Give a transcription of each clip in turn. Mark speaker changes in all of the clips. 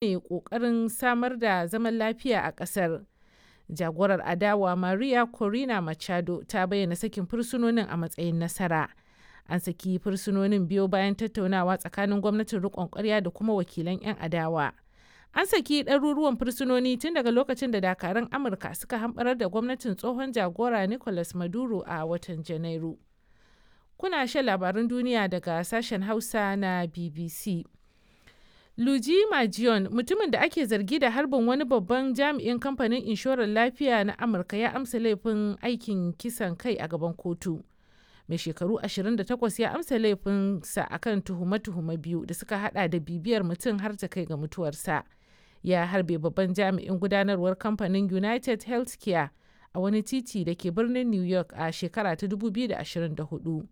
Speaker 1: Ne ƙoƙarin samar da zaman lafiya a ƙasar. Jagorar adawa Maria Corina Machado ta bayyana sakin fursunonin a matsayin nasara. An saki fursunonin biyo bayan tattaunawa tsakanin gwamnatin riƙon ƙwarya da kuma wakilan 'yan adawa. An saki ɗaruruwan fursunoni tun daga lokacin da dakarun Amurka suka hamɓarar da gwamnatin tsohon jagora Nicolas Maduro a watan Janairu. Kuna shan labarun duniya daga sashen Hausa na BBC. Luigi Mangione, mutumin da ake zargi da harbin wani babban jami'in kamfanin inshorar lafiya na Amurka ya amsa laifin aikin kisan kai a gaban kotu. Mai shekaru 28 ya amsa laifinsa akan tuhume-tuhume biyu da suka hada da bibiyar mutum har ta kai ga mutuwarsa. Ya harbe babban jami'in gudanarwar kamfanin United Healthcare a wani titi da ke birnin New York a shekara ta 2024.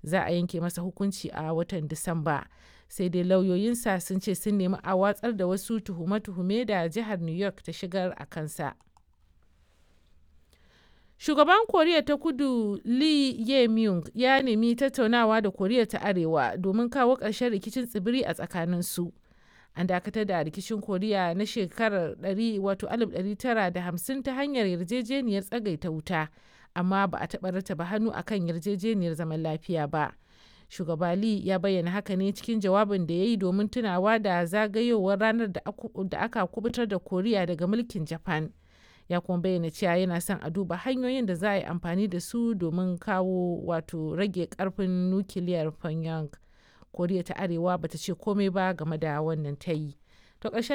Speaker 1: Za a yanke masa hukunci a watan Disamba. Sai dai lauyoyinsa sun ce sun nemi a watsar da wasu tuhume-tuhume da jihar New York ta shigar a kansa. Shugaban Koriya ta Kudu Lee Jae-myung ya nemi tattaunawa da Koriya ta Arewa domin kawo ƙarshen rikicin tsibiri a tsakaninsu. An dakatar da rikicin Koriya na shekarar 1950 ta hanyar yarjejeniyar tsagaita wuta, amma ba a taɓa rattaba hannu akan yarjejeniyar zaman lafiya ba. Shugaba Lee ya bayyana haka ne cikin jawabin da ya yi domin tunawa da zagayowar ranar da aka kubutar da Koriya daga mulkin Japan. Ya kuma bayyana cewa yana son a duba hanyoyin da za a yi amfani da su domin kawo wato rage karfin nukiliyar Pyongyang. Koriya ta Arewa bata ce komai ba game da wannan tayi. To ƙarshen